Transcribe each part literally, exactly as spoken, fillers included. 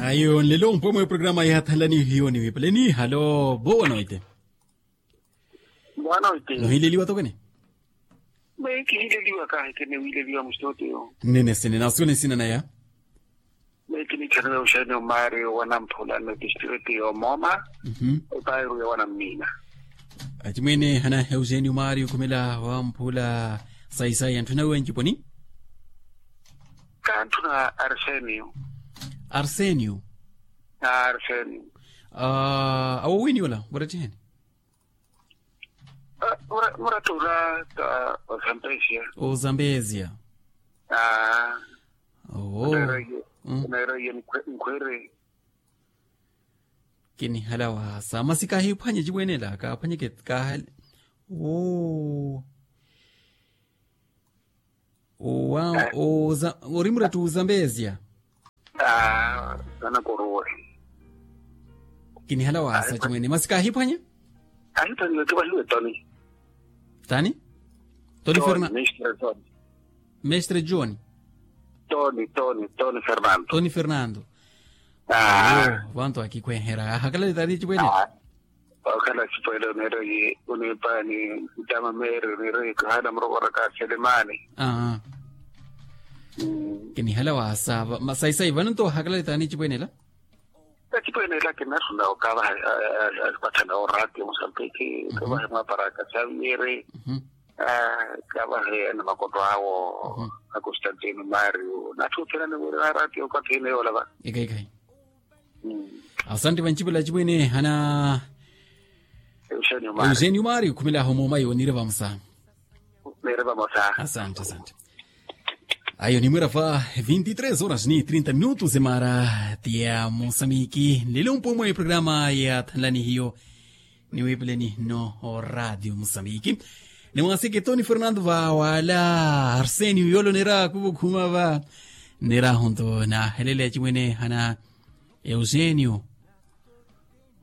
Ayo nlelo mpwe mwe programa yaathanlani hiyo niwipaleni halo vowa noite. Mwana oite. Nohileliwa tokene. Mwe kihileliwa kahekene wileliwa musitoteyo. Nene sene nasuwene sina naya. Mwe kinikhaniwa ushani omari owanamphula na district yomoma. Opairu yowanammina. Achimwene hana eugênio mari okhumela wamphula. Saisai anthu nawe nciponi. Kanthu na arsenio. Arsenio. Arsenio. Awowini ola murattiheni. Murattula ta ozambezia. Ozambezia. Aa. Owo. Nkhwere. Kinihala wasa masi kahiphwanye cimwenela kaphwanyeke kahale. Owo. Owa oza orimura tu zambezia. Aa. Sana koruwe. Kinihala wasa chimwene masi kahiphwanya. Ahiphwanya kivahiwe toni. Tani? Toni fernando. Mestre john. Toni toni toni fernando. Toni fernando. Aa. Vantu akikhwenhera ahakalale tani chimwene. Okhala sipwele oneera oyi onipaani ntama meeri oneera oyi kahaana murokoraka selemani. Aa. Kinihala waasa saisai vano nto ohakalale taani ecipwene ela. Ecipwene ela kinasuna okavaha. Pathana oraatio musambiki kavahe mwaparaka saviyeri. Kavahe ena makoto awo. Akostantino mario nathuthela niwiri araatio okathina yoolava. Ikaikahi. Asante vancipela cimwene hana. Eusenio mario khumelaho mooma yo nire vamosa. Asante asante. Ayo nimwira va vinte e três horas ni trinta minutos emara tia mosamiki nlelo mpwe mwe programa ya thanlani hiyo. Niwipeleni no radio mosamiki. Nimwasiki toni fernando va wala arsenio yolo nira kuvukhuma va nira hunto nahelele acimwene hana. Eusenio.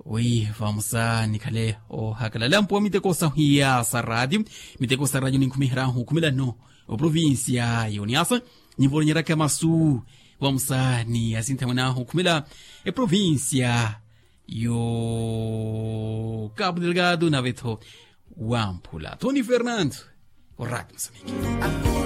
Wi vamosa nikhale ohakalala mpuwa miteko sahiya sa radio. Miteko sa radio ninkhumiherahu okhumela no oprovincia yoniasa. Nyivoloneryaka masu vamosa ni asintha mwenahu okhumela eprovincia yo cabo delgado navetho wamphula toni fernando. Oradio mosamiki.